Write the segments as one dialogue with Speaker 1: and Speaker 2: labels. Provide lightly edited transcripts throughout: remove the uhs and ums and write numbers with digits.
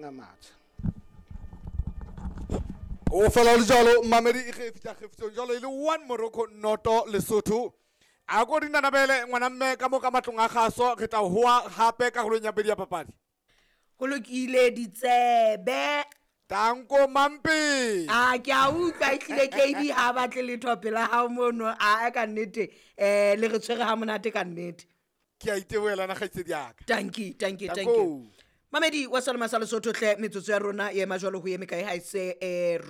Speaker 1: teng a matjha.
Speaker 2: O fela le jalo mamedi e ge fitla kgefitsong jalo e le 1 Morocco noto Lesotho. A ko dinanabele ngwana mme ka mo ka matlong a gaso re tla hoa hape karolong ya pedi ya papadi.
Speaker 3: Go lokile ditsebe.
Speaker 2: Tanko Mampe.
Speaker 3: A ke a utlwa e tlile KB ha batle letho pela hao mono a ka nnete le re tshwere ha monate ka nnete.
Speaker 2: Ke a itebohela na kgaitsedi yaka.
Speaker 3: Tanki, tanki, tanki. Mamedi wa Salema sa Lesotho hle metsotso ya rona e ema jwalo ho eme kae ha ese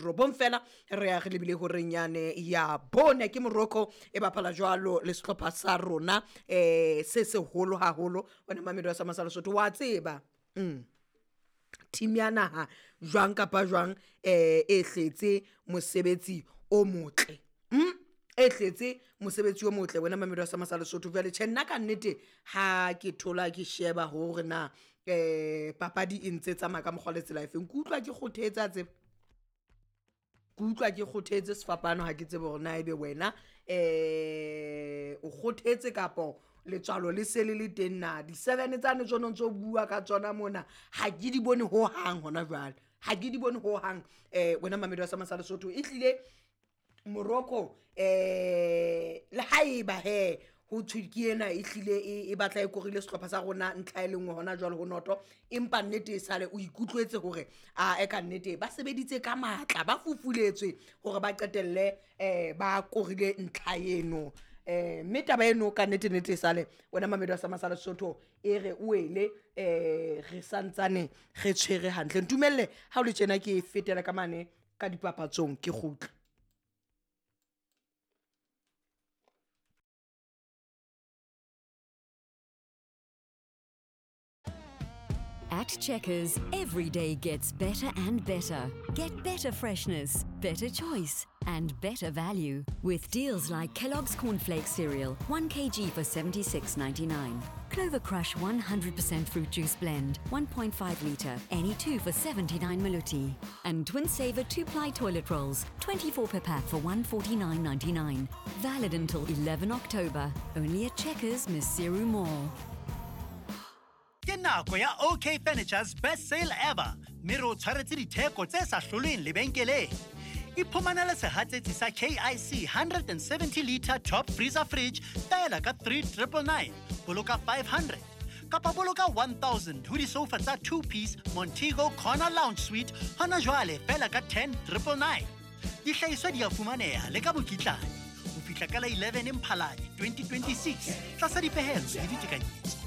Speaker 3: robong fela re ya re lebile horeng yane ya bone ke Morocco e bapala jwalo le sehlopha sa rona se seholo haholo. Wena mamedi wa Salema sa Lesotho wa tseba team ya naha jwang kapa jwang e hletse mosebetsi o motle. E hletse mosebetsi o motle wena mamedi wa Salema sa Lesotho. Jwale tjhe nna ka nnete ha ke thola ke sheba hore na papadi e ntse tsamaya ka mokgwa le tsela efeng, ke utlwa ke kgothetse a tseba, ke utlwa ke kgothetse sefapano. Ha ke tsebe hore na ebe wena o kgothetse kapo letswalo le se le le teng na. Di-7 tsane tsone ntso bua ka tsona mona ha ke di bone ho hang hona jwale, ha ke di bone ho hang. Wena mamedi wa Salema sa Lesotho e hlile Morocco le haeba he ho thwe ke ena e hlile e batla e korile sehlopha sa rona ntlha e le nngwe hona jwale ho noto, empa nnete e sale o ikutlwetse hore a e ka nnete ba sebeditse ka matla, ba fufuletswe hore ba qetelle ba korile ntlha eno. Mme taba eno ka nnete nnete e sale wena mamedi wa Salema sa Lesotho e re o ele re santsane re tshwere hantle. Ntumelle ha o le tjena ke fetela ka mane ka dipapatsong ke kgutla.
Speaker 4: At Checkers, every day gets better and better. Get better freshness, better choice, and better value with deals like Kellogg's Cornflakes cereal, 1 kg for $76.99. Clover Crush 100% fruit juice blend, 1.5 litre, any two for 79 maluti. And Twin Saver 2-ply toilet rolls, 24 per pack for $149.99. Valid until 11 October. Only at Checkers, Maseru Mall.
Speaker 5: Ke nako ya OK Furniture's best sale ever, mme re o tshwaretse ditheko tse sa hlolweng lebenkeleng. Iphumanele sehatsetsi sa KIC 170 litre top freezer fridge fela ka 3999, boloka 500 kapa boloka 1000 ho disofa tsa 2-piece Montego Corner Lounge Suite hona jwale fela ka 10999. Dihlahiswa di a fumaneha le ka mokitlane ho fihla ka la 11 Mphalane 2026 tlasa dipehelo le ditekanyetso.